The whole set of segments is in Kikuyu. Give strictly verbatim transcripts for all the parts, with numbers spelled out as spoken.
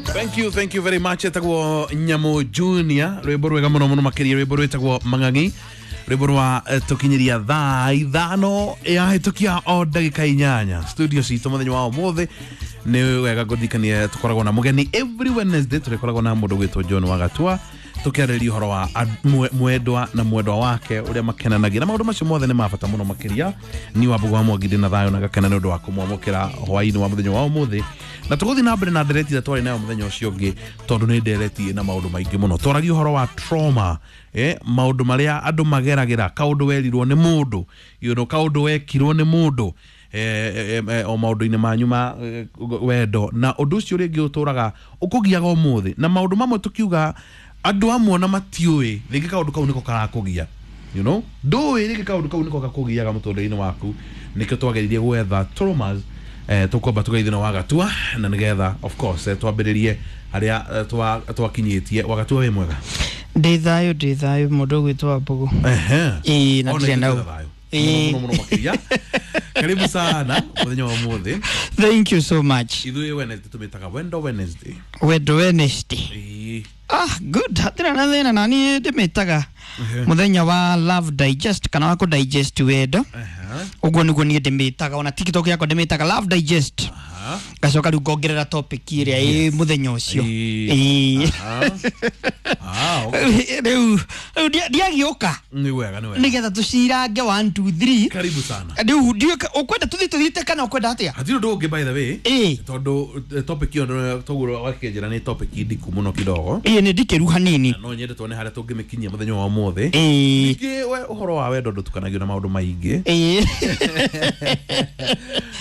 Thank you, thank you very much. Etagwo Nyamu Junior, rwimbo rwega muno muno makiria, rwimbo rwitagwo Mang'ang'i, rwimbo rwa eh, tukinyiria thaa ithano yahĩtũkia o ndagĩka inyanya. Studio citũ mũthenya wa ũmũthĩ nĩ wega ngũririkanie tũkoragwo na mũgeni every Wednesday, tũrĩkoragwo na mũndũ gwĩtwo John Wagatua tũkĩarĩrĩria ũhoro wa ad- mwe- mwendwa na mwendwa wake ũrĩa makenanagia na maũndũ macio mothe nĩ ma bata mũno makĩria. Ni wa Mbũgũ wa Mwangi ndĩ na thayũ na gakena nĩ ũndũ wa kũmwamũkĩra hwaĩ-inĩ wa mũthenya wa ũmũthĩ, na tũgũthiĩ na mbere na ndereti ĩrĩa twarĩ nayo mũthenya ũcio ũngĩ tondũ nĩ ndereti ĩna maũndũ maingĩ mũno. Twaragia ũhoro wa trauma, eh, maũndũ marĩa andũ mageragĩra, kaũndũ werirwo nĩ mũndũ, you know, kaũndũ wekirwo nĩ mũndũ, eh, eh, eh, o maũndũ-inĩ manyu ma eh, wendo, na ũndũ ũcio rĩngĩ ũtũraga ũkũgiaga ũmũthĩ, na maũndũ mamwe tũkiuga andũ amwe ona matiũĩ rĩngĩ kaũndũ kau nĩko karakũgia, you know ndũĩ rĩngĩ kaũndũ kau nĩko gakũgiaga mũtũrĩre-inĩ waku. Nĩkĩo twageririe gwetha traumas, eh, tũkwamba tũgeithio na Wagatua na nĩgetha of course eh, twambĩrĩrie harĩa eh, twa- twakinyĩtie. Wagatua, wĩ mwega? Ndĩ thayũ, ndĩ thayũ, mũndũ ũgwĩtwo Wambũgũ. Ehe. Ĩĩ, na Ona ndirĩ ithuĩ na twĩna thayũ. Ĩĩ. Mũno mũno makĩria. Karibu sana mũthenya wa ũmũthĩ. Thank you so much. Ithuĩ Wednesday tũmĩtaga Wendo Wednesday. Wendo Wednesday. Ĩĩ. Ah, good, hatirĩ na thĩna, na niĩ ndĩmĩtaga mũthenya wa love digest kana wa kũ digest wendo. Ehe. Ũguo nĩguo niĩ ndĩmĩtaga, ona TikTok yakwa ndĩmĩtaga love digest. Aha. Ngacoka rĩu ngongerera topic ĩrĩa ĩ mũthenya ũcio. Ĩĩ. Ĩĩ. Aha. Ah, okay. Rĩu rĩu ndia- ndiagĩũka Nĩ wega, nĩ wega. nĩgetha tũcirange one two three. Karibu sana. Rĩu ndiũĩ ũkwenda tũthiĩ tũthiĩte kana ũkwenda atĩa? Hatirĩ ũndũ ũngĩ, by the way. Ĩĩ. Tondũ eh, topic ĩyo toguo wakĩnjĩra nĩ topic ndiku mũno kidogo. Ĩĩ, nĩ ndikĩru hanini. Na no nyende tuone harĩa tũngĩmĩkinyia mũthenya wa ũmũthĩ. Ĩĩ. Ningĩ we ũhoro wa wendo ndũtukanagio na maũndũ maingĩ. Ĩĩ.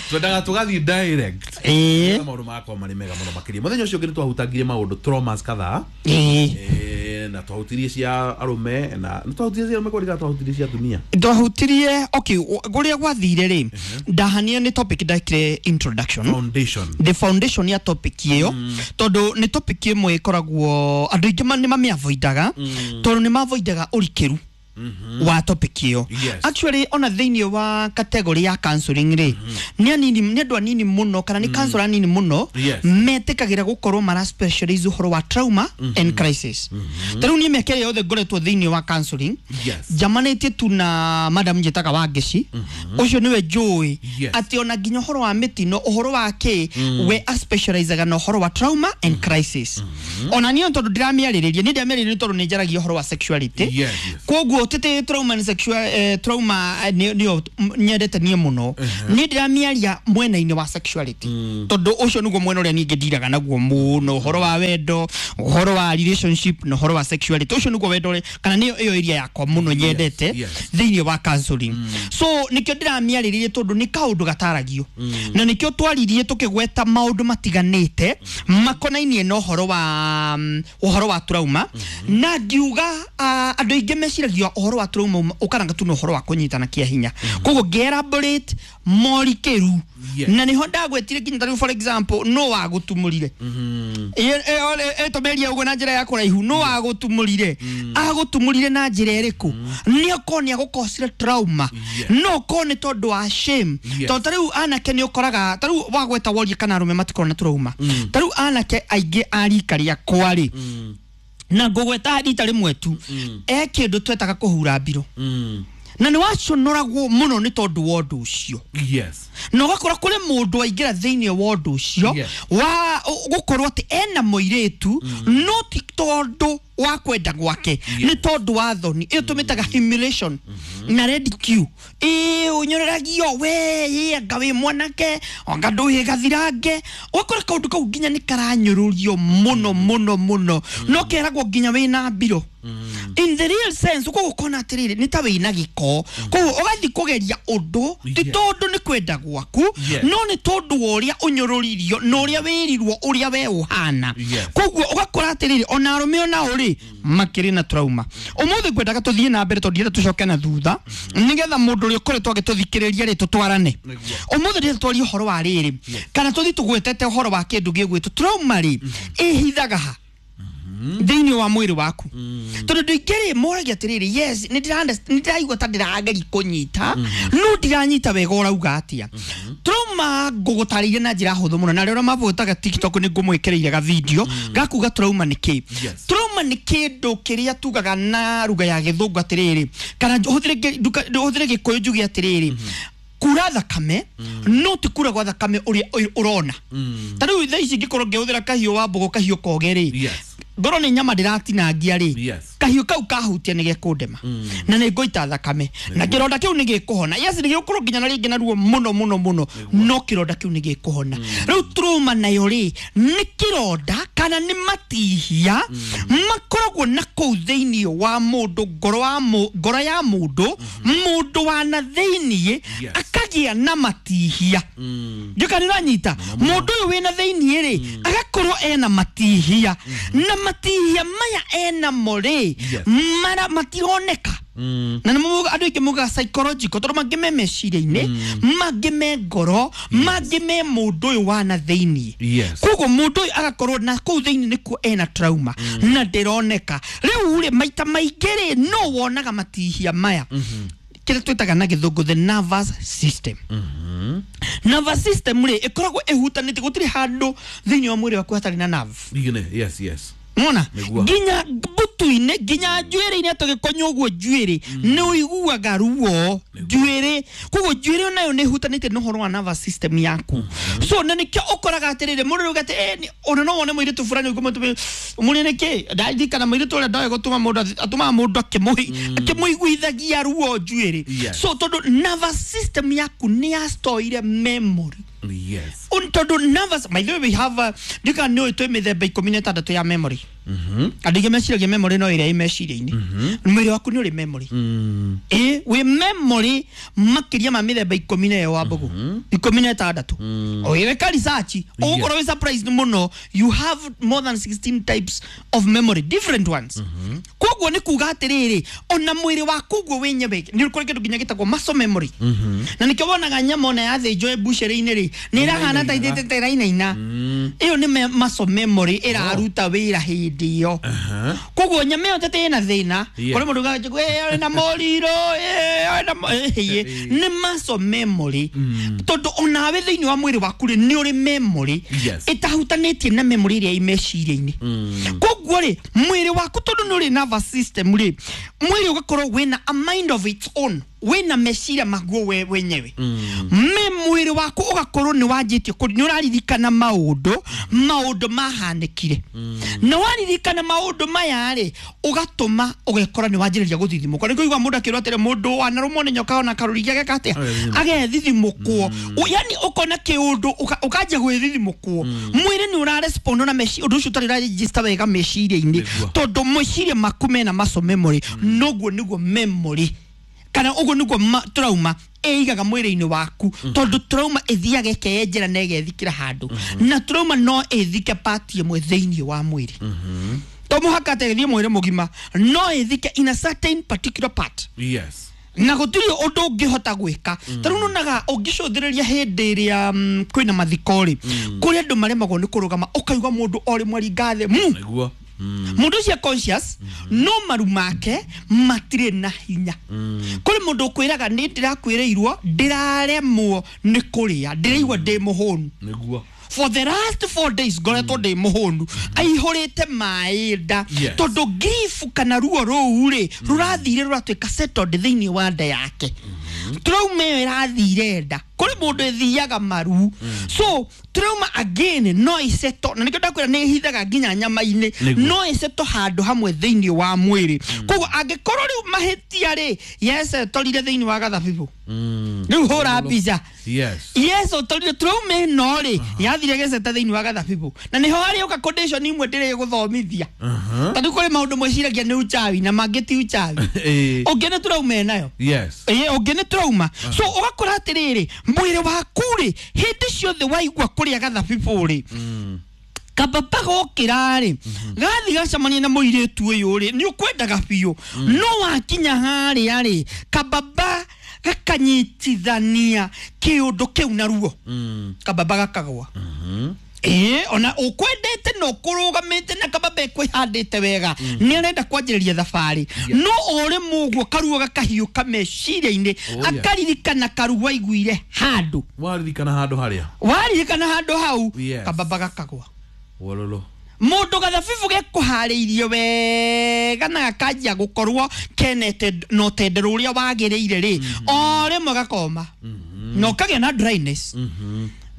Twendaga tũgathiĩ direct. Ĩĩ. Nĩgetha maũndũ magakorwo marĩ mega mũno makĩria. Mũthenya ũcio ũngĩ nĩ twahutangirie maũndũ traumas kadhaa. Ĩĩ. Eh, na twahutirie cia arũme na nĩ twahutirie cia arũme kũringana twahutirie cia atumia. Twahutirie, okay, kũrĩa gwathire rĩ, ndahania nĩ topic ndekire introduction. Foundation. The foundation ya topic ĩyo, tondũ nĩ topic ĩmwe ĩkoragwo andũ aingĩ ma- nĩ mamĩavoidaga tondũ nĩ mavoidaga ũrikĩru wa topic ĩyo. Yes. Actually, ona thĩinĩ wa category ya counseling rĩ, nĩ anini, nĩ andũ anini mũno kana nĩ counselor anini mũno Yes. metĩkagĩra gũkorwo mara specialize ũhoro wa trauma and crisis. Ta rĩu niĩ mĩaka ĩrĩa yothe ngoretwo thĩinĩ wa counseling, Yes. njamanĩtie tu na madam njĩtaga Wangeci, ũcio nĩwe njũĩ Yes. atĩ ona nginya ũhoro wa mĩtino, ũhoro wa kĩ, we aspecializaga na ũhoro wa trauma and crisis. Ona niĩ tondũ ndĩramĩarĩrĩria, niĩ ndĩramĩarĩrĩria nĩ tondũ nĩ njaragia ũhoro wa sexuality. Yes, yes. Koguo tĩtĩ trauma and sexual eh, trauma eh, nĩ- nĩyo m- nyendete niĩ mũno. Niĩ ndĩramĩaria mwena-inĩ wa sexuality tondũ ũcio nĩguo mwena ũrĩa ningĩ ndiraga naguo mũno, ũhoro wa wendo, ũhoro wa relationship na ũhoro wa sexuality. Ũcio nĩguo wendo ũrĩa kana nĩyo ĩyo area yakwa mũno nyendete yes. thĩinĩ wa counseling. So nĩkĩo ndĩramĩarĩrĩria tondũ nĩ kaũndũ gataragio, na nĩkĩo twaririe tũkĩgweta maũndũ matiganĩte makonainie na ũhoro wa mm, ũhoro wa trauma, na ngiuga ah, andũ aingĩ meciragia ũhoro wa trauma uma- ũkaranga tu na ũhoro wa kũnyitana kĩa hinya, koguo ngĩ-elaborate morikĩru. Yes. Na nĩho ndagwetire nginya tarĩu, for example, no wagũtumũrire ĩtũmeria ũguo na njĩra ya kũraihu, no agũtumũrire, agũtumũrire na njĩra ĩrĩkũ, nĩ okorwo nĩ agũkosire trauma, Yes. no okorwo nĩ tondũ wa shame. Yes. Tondũ ta rĩu anake nĩ ũkoraga, ta rĩu wagweta worie kana arũme matikorwo na trauma, ta rĩu anake aingĩ a rika rĩakwa rĩ, na ngũgweta rita rĩmwe tu, e kĩndũ twetaga kũhura mbirũ, Mm. na nĩ waconoragwo mũno nĩ tondũ wa ũndũ ũcio, Yes. na ũgakora kũrĩ mũndũ waingĩra thĩinĩ wa ũndũ ũcio Yes. wa ũ- gũkorwo atĩ ena mũirĩtu, no ti tondũ wa kwenda gwake, nĩ tondũ wa thoni ĩyo tũmĩtaga humiliation na ridicule. Ĩĩ, ũnyoreragio we, ĩ anga wĩ mwanake, anga ndũĩ gathirange. Ũgakora kaũndũ kau nginya nĩ karanyũrũrio mũno mũno mũno, no keragwo nginya wĩna mbirũ in the real sense. Koguo ũkona atĩrĩrĩ, nĩ ta wĩna gĩko, koguo ũgathiĩ kũgeria ũndũ ti Yeah. tondũ nĩ kwenda gwaku, Yes. no nĩ tondũ wa ũrĩa ũnyũrũririo na ũrĩa wĩrirwo ũrĩa we ũhana. Yes. Koguo ũgakora atĩrĩrĩ, ona arũme onao rĩ makĩrĩ na trauma. Ũmũthĩ ngwendaga tũthiĩ na mbere tondũ ndienda tũcoke na thutha, nĩgetha mũndũ ũrĩa ũkoretwo agĩtũthikĩrĩria rĩ tũtwarane. Nĩguo. Ũmũthĩ ndĩrenda twarie ũhoro wa rĩrĩ, kana tũthiĩ tũgwetete ũhoro wa kĩndũ gĩgwĩtwo trauma rĩ, ĩhithaga ha. Thĩinĩ wa mwĩrĩ waku tondũ andũ aingĩ rĩ moragia atĩrĩrĩ, yes, nĩ ndĩraigua ta ndĩrageria kũnyita no ndiranyita wega ũrauga atĩa. Trauma ngũgũtarĩria na njĩra hũthũ mũno, na arĩa mabũtaga TikTok nĩ ngũmwĩkĩrĩire ga video gakuga trauma nĩ kĩ. Trauma nĩ kĩndũ kĩrĩa tugaga na ruga ya gĩthũngũ atĩrĩrĩ, kana hũthĩre gĩkũyũ njuge atĩrĩrĩ, kura thakame no ti kura gwa thakame ũrĩa ũrona. Ta rĩu thaa ici ngĩkorwo ngĩhũthĩra kahiũ wa mbũgũ, kahiũ koge rĩ, ngorwo nĩ nyama ndĩratinangia rĩ, kahiũ kau kahutia nĩ gekũndema na nĩ ngũita thakame na kĩronda kĩu nĩ gĩkũhona. Yes, nĩ gĩgũkorwo nginya na rĩngĩ na ruo mũno mũno mũno, no kĩronda kĩu nĩ gĩkũhona. Rĩu trauma nayo rĩ nĩ kĩronda kana nĩ matihia makoragwo na kũu thĩinĩ wa mũndũ, ngoro wa ngoro ya mũndũ, mũndũ wa na thĩinĩ akagĩa na matihia. Njuka nĩ ũranyita mũndũ ũyũ wĩna thĩinĩ rĩ agakorwo ena matihia na matihia maya ena more mara matironeka. Na nĩ andũ aingĩ mugaga psychological tondũ mangĩ me meciria-inĩ, mangĩ me ngoro, mangĩ me mũndũ ũyũ wa na thĩinĩ. Koguo mũndũ ũyũ agakorwo na kũu thĩinĩ nĩkuo ena trauma na ndĩroneka. Rĩu rĩ maita maingĩ rĩ no wonaga matihia maya kĩrĩa twĩtaga na gĩthũngũ the nervous system. Nervous system rĩ ĩkoragwo ĩhutanĩtie, gũtirĩ handũ thĩinĩ wa mwĩrĩ waku hatarĩ na nerve. Yes, yes. Mona nginya mbutu-inĩ, nginya njuĩrĩ-inĩ tũgĩkonywo ũguo njuĩrĩ nĩ ũiguaga ruo njuĩrĩ. Koguo njuĩrĩ onayo nĩ ĩhutanĩtie na ũhoro wa nervous system yaku. So na nĩkĩo ũkoraga atĩrĩrĩ mũndũ rĩu atĩ eh ona no wone mũirĩtu fulani ũguo mũrĩ nĩkĩ ndirikana mũirĩtu ũrĩa ndoĩ gũtũma mũndũ atũmaga mũndũ akĩmũiguithagia ruo njuĩrĩ. So tondũ nervous system yaku nĩ yastoire memory. Yes. Tondũ nervous, by the way, we have ndika nĩ ũĩ twĩ mĩthemba ikũmi na ĩtandatũ ya memory. Andũ aingĩ meciragia memory no ĩrĩa ĩ meciria-inĩ. Mwĩrĩ waku nĩ ũrĩ memory. Ĩ wĩ memory makĩria ma mĩthemba ikũmi na ĩyo wa mbũgũ ikũmi na ĩtandatũ. Ũgĩka research ũgũkorwo wĩ surprised mũno, you have more than sixteen types of memory, different ones. Koguo nĩ kuga atĩrĩrĩ ona mwĩrĩ waku ũguo wenyewe nĩ kũrĩ kĩndũ nginya gĩtagwo muscle memory. Na nĩkĩo wonaga nyama ona yathĩnjwo mbucĩrĩ-inĩ rĩ nĩ ĩrahana ta itĩte ĩrainaina. Ĩyo nĩ muscle memory ĩraruta wĩra hĩndĩ ĩyo. Koguo nyama ĩyo tete ĩna thĩna kũrĩ mũndũ ugaga ĩ na mũriro ĩ na nĩ muscle memory. Tondũ onawe thĩinĩ wa mwĩrĩ waku rĩ nĩ ũrĩ memory ĩtahutanĩtie na memory ĩrĩa ĩ meciria-inĩ. Koguo rĩ mwĩrĩ waku tondũ nĩ ũrĩ nervous system rĩ mwĩrĩ ũgakorwo wĩna a mind of its own, wĩna meciria maguo we wenyewe. Me mwĩrĩ waku ũgakorwo nĩ wanjĩtie nĩ ũraririkana maũndũ maũndũ mahanĩkire. Na waririkana maũndũ maya rĩ ũgatũma ũgekora nĩ wanjĩrĩria gũthithimũka. Nĩkĩo ũiguaga mũndũ akĩrwo atĩrĩ mũndũ wanarũmwo nĩ nyoka ona karũrigi ageka atĩa agethithimũkwo. Yani ũkona kĩũndũ ũkanjia gwĩthithimũkwo. Mwĩrĩ nĩ ũrarespond na meciria ũndũ ũcio ũtarĩ ũraregister wega meciria-inĩ tondũ meciria maku mena muscle memory. Noguo nĩguo memory kana ũguo nĩguo trauma ĩigaga mwĩrĩ-inĩ waku tondũ trauma ĩthiaga ĩkeyenjera na ĩgethikĩra handũ na trauma no ĩthike part ĩmwe thĩinĩ wa mwĩrĩ. To mũhaka atĩ ĩthiĩ mwĩrĩ mũgima, no ĩthike in a certain particular part. Yes. Na gũtirĩ ũndũ ũngĩhota gwĩka. Ta rĩu nyonaga ũngĩcũthĩrĩria hĩndĩ ĩrĩa kwĩna mathiko rĩ kũrĩ andũ maremagwo nĩ kũrũgama, ũkaigua mũndũ o rĩmwe aringa thĩ mu. Nĩguo. Mũndũ ũcio conscious no maru make matirĩ na hinya. Kũrĩ mũndũ ũkwĩraga nĩ ndĩrakwĩrĩirwo ndĩraremwo nĩ kũrĩa, ndĩraigua ndĩ mũhũnu. Nĩguo. For the last four days ngoretwo ndĩ mũhũnu aihũrĩte maĩ nda tondũ grief kana ruo rũu rĩ rũrathire rũratuĩka settled thĩinĩ wa nda yake. Trauma ĩyo ĩrathire nda. Kũrĩ mũndũ ĩthiaga maru. So trauma again no ĩseto, na nĩkĩo ndakwĩra nĩ ĩhithaga nginya nyama-inĩ, no ĩseto handũ hamwe thĩinĩ wa mwĩrĩ. Koguo angĩkorwo rĩu mahĩtia rĩ yesetorire thĩinĩ wa gathabibũ rĩu hũra mbica. Yes. Yes, ũtorire trauma ĩno rĩ yathire geceta thĩinĩ wa gathabibũ na nĩho harĩũka condition imwe ndĩrĩgũthomithia. Tondũ kũrĩ maũndũ mwĩciragia nĩ uchawi na mangĩ ti uchawi. Ũngĩ nĩ trauma ĩnayo. Yes. Ĩĩ ũngĩ nĩ trauma. So ũgakora atĩrĩrĩ mwĩrĩ waku rĩ hĩndĩ ciothe waigua kũrĩa gathabibũ rĩ kababa gokĩra rĩ gathi gacemania na mũirĩtu ũyũ rĩ nĩ ũkwendaga biũ no wakinya harĩa rĩ kababa gakanyitithania kĩũndũ kĩu na ruo kababa gakagwa. Ĩĩ ona ũkwendete ĩno kũrũgamĩte na kababa kwĩhandĩte wega nĩ arenda kwanjĩrĩria thabarĩ no o rĩmwe ũguo karuo gakahiũka meciria-inĩ Oh, yeah. akaririkana karuo aiguire handũ waririkana handũ harĩa waririkana handũ hau Yes. kababa gakagwa wololo mundu gathabibu gekuharĩirie wega na gakanjia gũkorwo kenete na ũtendero ũrĩa wagĩrĩire rĩ o rĩmwe gakoma na ũkagĩa na dryness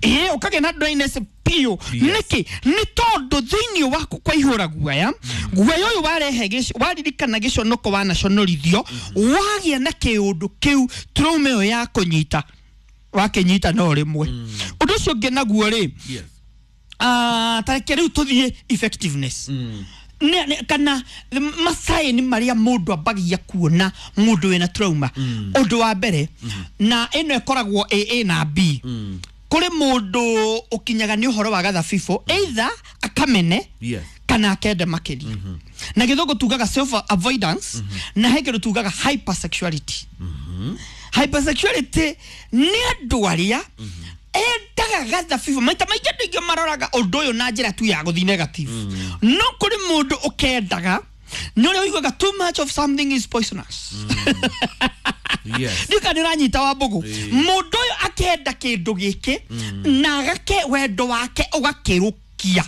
ĩĩ ũkagĩa na dryness biũ Yes. nĩkĩ nĩ tondũ thĩinĩ waku kwaihũra guoya guoya ũyũ warehe gĩc- waririkana gĩconoko wanaconorithio wagĩa na kĩũndũ kĩu trauma ĩyo ya kũnyita wakĩnyita no rĩmwe ũndũ ũcio ũngĩ naguo rĩ yes Ah, tareke rĩu tũthiĩ effectiveness Nĩ- nĩ- kana masaini marĩa mũndũ ambagia kuona mũndũ wĩna trauma ũndũ wa mbere na ĩno ĩkoragwo ĩ A na B kũrĩ mũndũ ũkinyaga nĩ ũhoro wa gathabibũ either akamene yes kana akende makĩria na gĩthũngũ tugaga self avoidance na he kĩndũ tugaga hypersexuality hypersexuality nĩ andũ arĩa endaga gathabibũ maita maingĩ andũ aingĩ maroraga ũndũ ũyũ na njĩra tu ya gũthiĩ negative no kũrĩ mũndũ ũkendaga nĩ ũrĩa ũiguaga too much of something is poisonous yes ndika nä ranyita wa mbũgũ mũndũ ũyũ akenda kĩndũ gĩkĩ na agake wendo wake ũgakĩrũkia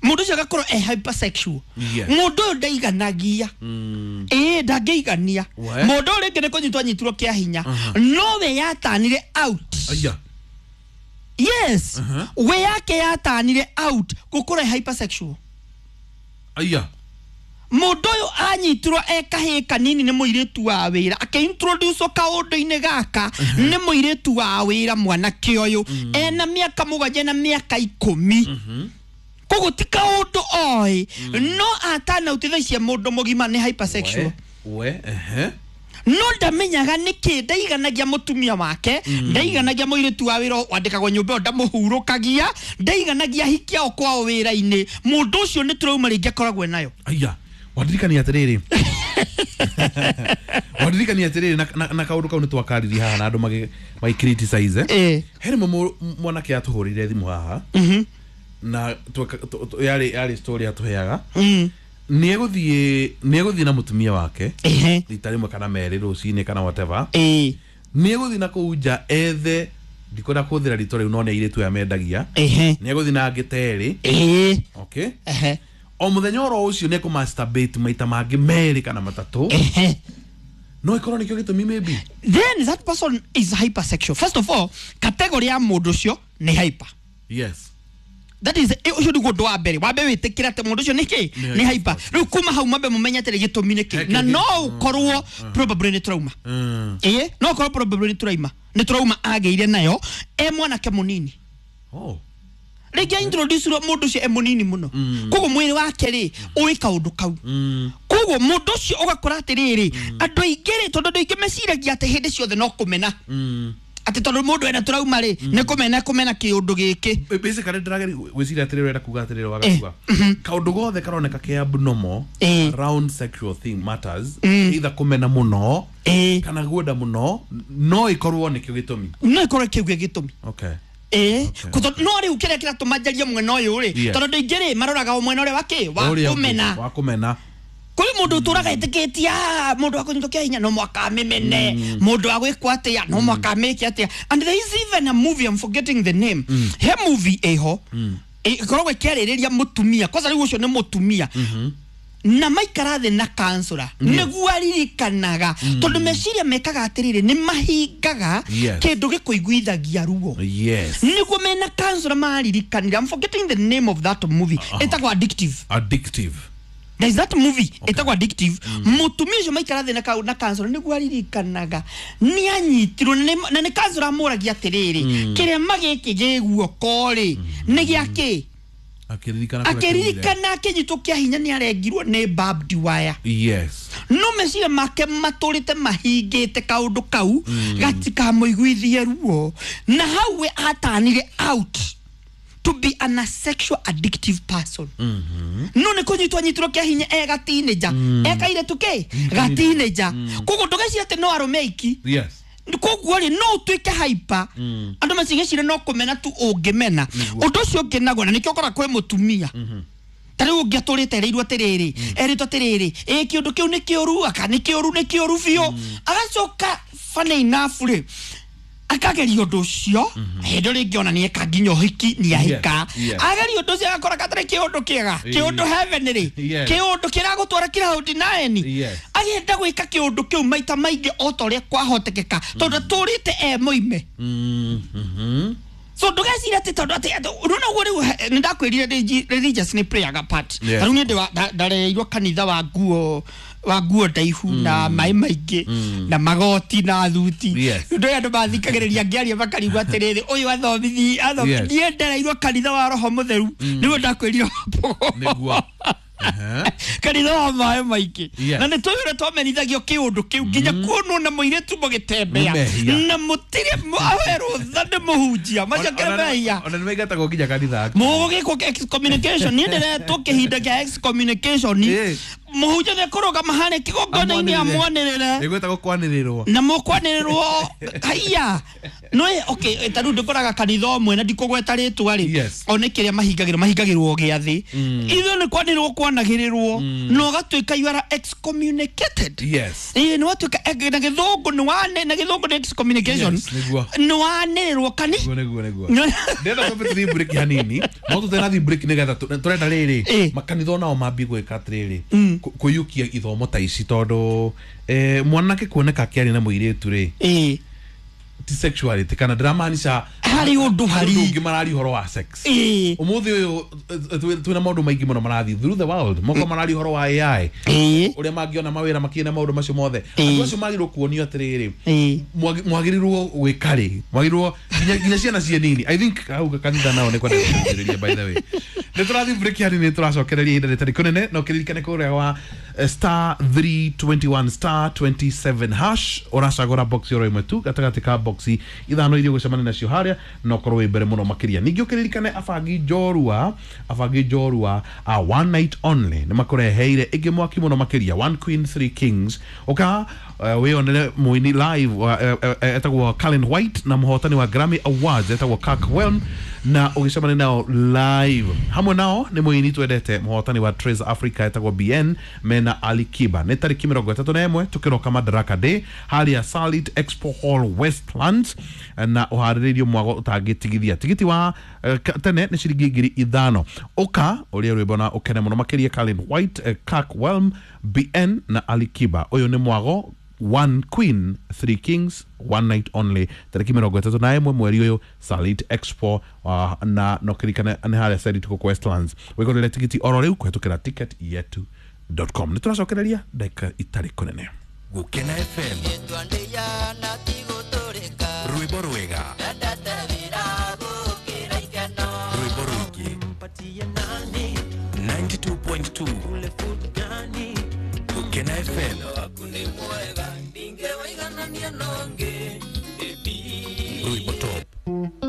mũndũ ũcio agakorwo e hypersexual Yes. mũndũ ũyũ ndaiganagia ĩĩ ndangĩigania We. mũndũ ũyũ rĩngĩ nĩ kũnyitwo anyitirwo kĩa hinya no we yatanire out aya yes we yake yatanire out gũkorwo e hypersexual aya mũndũ ũyũ anyitirwo e kahĩĩ kanini nĩ mũirĩtu wa wĩra akĩintroducwo kaũndũ-inĩ gaka nĩ mũirĩtu wa wĩra mwanake ũyũ ena mĩaka mũgwanja na mĩaka ikũmi koguo ti kaũndũ oĩ no atanautitha icia mũndũ mũgima nĩ hypersexual we we ehe no ndamenyaga nĩkĩ ndaiganagia mũtumia wake ndaiganagia mũirĩtu wa wĩra wandĩkagwo nyũmba ĩyo ndamũhurũkagia ndaiganagia hikia ao kwao wĩra-inĩ mũndũ ũcio nĩ tũrauma rĩngĩ akoragwo nayo aya wandirikania atiriri wandirikania atiriri na, na, na kaundu kau nĩ twakaririe haha na andũ magĩ magĩ criticize Ĩĩ. he rĩmwe mũ- mwanake atũhũrĩire thimũ haha na tweka- tũ- tũ- yarĩ yarĩ story atũheaga Mm. nĩ egũthiĩ nĩ egũthiĩ na mũtumia wake Ehe. rita rĩmwe kana merĩ rũcinĩ kana whatever Ĩĩ. nĩ egũthiĩ na kũu nja ethe ndikwenda kũhũthĩra rĩtwa rĩu no nĩ airĩtu aya mendagia Ehe. nĩ egũthiĩ na angĩ ta erĩ Ĩĩ. okay Ehe. o mũthenya oro ũcio nĩ ekũmasturbate maita mangĩ merĩ kana matatũ Ehe. no ĩkorwo nĩkĩo gĩtũmi maybe Then that person is hypersexual. First of all, category ya mũndũ ũcio nĩ hyper. yes That is eh, ũcio nĩguo ũndũ wa mbere wambe wĩtĩkĩre atĩ mũndũ ũcio nĩ kĩ Nĩ nĩ hyper rĩu kuma hau mambe mũmenye atĩrĩ gĩtũmi nĩ kĩ He na kĩ- no ũkorwo probably nĩ trauma mm. ĩĩ no ũkorwo probably nĩ trauma nĩ trauma agĩire nayo e mwanake mũnini oh. rĩngĩ introduce-irwo mũndũ ũcio e mũnini mũno koguo mwĩrĩ wake rĩ ũĩ kaũndũ kau mm. koguo mũndũ ũcio ũgakora atĩrĩrĩ andũ aingĩ rĩ tondũ andũ aingĩ meciragia atĩ hĩndĩ ciothe no kũmena Mm. atĩ tondũ mũndũ ena tũrauma rĩ nĩ kũmena kũmena kĩũndũ gĩkĩ basically ndĩrageria gwĩciria atĩrĩrĩ ũrenda kuga atĩrĩrĩ wagakuga kaũndũ gothe karoneka ke abnormal Eh. around sexual thing matters either kũmena mũno Ĩĩ. kana guenda mũno no ĩkorwo nĩkĩo gĩtũmi no ĩkorwo kĩu gĩ gĩtũmi okay ĩĩ Okay. Kũtondũ- no rĩu kĩrĩa kĩratũma njarie mwena ũyũ rĩ Yes. tondũ andũ aingĩ rĩ maroraga o mwena ũrĩa wa kĩ wa Ũrĩa ũngĩ, kũmena wa kũmena kũrĩ mũndũ ũtũraga ĩtĩkĩtie "Ah, mũndũ wa kũnyitwo kĩa hinya no mwaka amĩmene mũndũ wa gwĩkwo atĩa no mwaka amĩke atĩa and there is even a movie I'm forgetting the name he movie ĩho ĩkoragwo ĩkĩarĩrĩria mũtumia kwanza rĩu ũcio nĩ mũtumia na maikara thĩ na kansũra nĩguo aririkanaga tondũ meciria mekaga atĩrĩrĩ nĩ mahingaga Yes. kĩndũ gĩkũiguithagia ruo yes nĩguo mena kansũra maririkanire I'm forgetting the name of that movie ĩtagwo addictive addictive there is that movie ĩtagwo addictive mũtumia ũcio maikara thĩ na kau- na kansũra nĩguo aririkanaga nĩ anyitirwo na nĩ- na nĩ kansũra amũragia atĩrĩrĩ kĩrema gĩkĩ gĩ guoko rĩ nĩ gĩa kĩ akĩririkana kũrĩa kiumire. akĩririkana akĩnyitwo kĩa hinya nĩ arengirwo nĩ barbed wire yes no meciria make matũrĩte mahingĩte kaũndũ kau gatikamũiguithie ruo na hau we atanire out to be an asexual addictive person no nĩ kũnyitwo anyitirwo kĩa hinya e gateenager e kairĩtu kĩ gateenager koguo ndũgeciria atĩ no arũme aiki yes Koguo rĩ no ũtuĩke hyper andũ macigecire no kũmena tu ũngĩmena ũndũ ũcio ũngĩ naguo na nĩkĩo ũkora kwĩ mũtumia ta rĩu ũngĩ atũrĩte erĩirwo atĩrĩrĩ erĩtwo atĩrĩrĩ ĩ kĩũndũ kĩu nĩ kĩũru aka nĩ kĩũru nĩ kĩũru biũ agacoka funny enough rĩ akageria ũndũ ũcio hĩndĩ rĩngĩ ona nĩeka nginya ũhiki nĩahika Yes, yes. ageria ũndũ ũcio agakora gatarĩ kĩũndũ kĩega kĩũndũ heaven rĩ Yes. kĩũndũ kĩragũtwara kĩraũndi nine Yes. agenda gwĩka kĩũndũ kĩu maita maingĩ o ta ũrĩa kwahotekeka tondũ atũrĩte e mũime Mm, mhm. so ndũgeciria atĩ tondũ atĩ atĩ rĩu noguo rĩu he- nĩ ndakwĩrire religi- religious nĩ playaga part Yes. ta rĩu niĩ ndĩ wa- nda- ndarereirwo kanitha wa nguo wa nguo ndaihu na maĩ maingĩ na magoti na thuti Yes. ndå andå mathikagä ngĩaria makarigwo atĩrĩrĩ ũyũ athomithi athomi Yes. niĩ ndereirwo kanitha wa roho mũtheru nĩguo ndakwĩrire Nĩguo. Aha. kanitha wa maĩ maingĩ Yes. na nĩ tũĩ ũrĩa twamenithagio kĩũndũ kĩu nginya kuonwo na mũirĩtu mũgĩtembea Nĩ mehia. na mũtirĩ awe rũtha nĩ mũhunjia macokere Ona- ona- mehia ona nĩ maingatagwo nginya kanitha mũgũgĩkwo excommunication niĩ ndĩretwo kĩhinda kĩa excommunication Ĩ. mũhunjia nĩ ekũrũgama harĩa kĩgongona-inĩ amwanĩrĩre ĩgwĩtagwo kwanĩrĩrwo na mũkwanĩrĩrwo haiya no okay ta rĩu ndĩkoraga kanitha ũmwe na ndikũgweta rĩtwa rĩ Yes. o nĩ kĩrĩa mahingagĩrwo mahingagĩrwo gĩathĩ ithuĩ nĩ kwanĩrĩrwo kwanagĩrĩrwo na ũgatuĩka you are excommunicated yes ĩĩ nĩ watuĩka eh, na gĩthũngũ nĩ wane na gĩthũngũ nĩ excommunication Yes, nĩguo. nĩ wanĩrĩrwo kani nĩguo nĩguo nĩguo No. ndĩrenda twambe tũthiĩ break hanini no tũtenathi break nĩgetha tũ- tũrenda rĩrĩ Ĩ. makanitha onao mambie gwĩka atĩrĩrĩ kũ- kũiyũkia ithomo ta ici tondũ eh, mwanake kuoneka akĩaria na mũirĩtu rĩ ĩĩ ti sexuality kana ndĩramaanisha Harĩ ũndũ harĩ. ũndũ ũngĩ mararia ũhoro wa sex ĩĩ ũmũthĩ ũyũ eh, twĩ- twĩna maũndũ maingĩ mũno marathiĩ through the world moko mararia ũhoro wa A I ĩĩ ũrĩa mangĩona mawĩra makĩria na maũndũ macio mothe Ĩ. andũ acio magĩrĩirwo kuonio atĩrĩrĩ ĩĩ mwagi- mwagĩrĩirwo gwĩka rĩ mwagĩrĩirwo nginya nginya ciana ciĩ nini i think hau kanitha nao nĩ kwenda gũteithĩrĩria by the way nĩ tũrathiĩ break hanini nĩ tũracokereria ihinda rĩtarĩ kũnene na ũkĩririkane kũrĩa wa eh, star three twenty-one star twenty-seven hash ũracagũra box oro ĩmwe tu gatagatĩ ka boxi ithano iria ũgũcemania nacio harĩa na ũkorwo wĩ mbere mũno makĩria ningĩ ũkĩririkane abangi njorua abangi njorua a one night only nĩ makũreheire ĩngĩ mwaki mũno makĩria one queen three kings ũka uh, wĩonere mũini live uh, uh, uh, etagwo Colin White na mũhotani wa Grammy Awards etagwo Kirk Whalum na ũgĩcemania nao live hamwe nao nĩ mũini twendete mũhotani wa Trace Africa etagwo B N mena Ali Kiba nĩ tarĩki mĩrongo ĩtatũ na ĩmwe tũkĩroka Madaraka Day harĩa Salit Expo Hall Westlands na ũharĩrĩirio mwago ũtangĩtigithia tigiti wa eh, ka- tene nĩ ciringi ngiri ithano ũka ũrĩa rwĩmbo na ũkene mũno makĩria Colin White eh, Kirk Whalum B N na Ali Kiba ũyũ nĩ mwago one queen three kings one night only tarĩki mĩrongo ĩtatũ na ĩmwe mweri ũyũ Salit Expo uh, na no kĩririkane nĩ harĩa Salit gũkũ Westlands wĩgũrĩre tigiti oro rĩu kũhetũkĩra ticket yetu dot com nĩ tũracokereria ndagĩka itarĩ kũnene Gukena F M rwĩmbo rwega rwĩmbo rũingĩ ninety-two point two Gukena F M.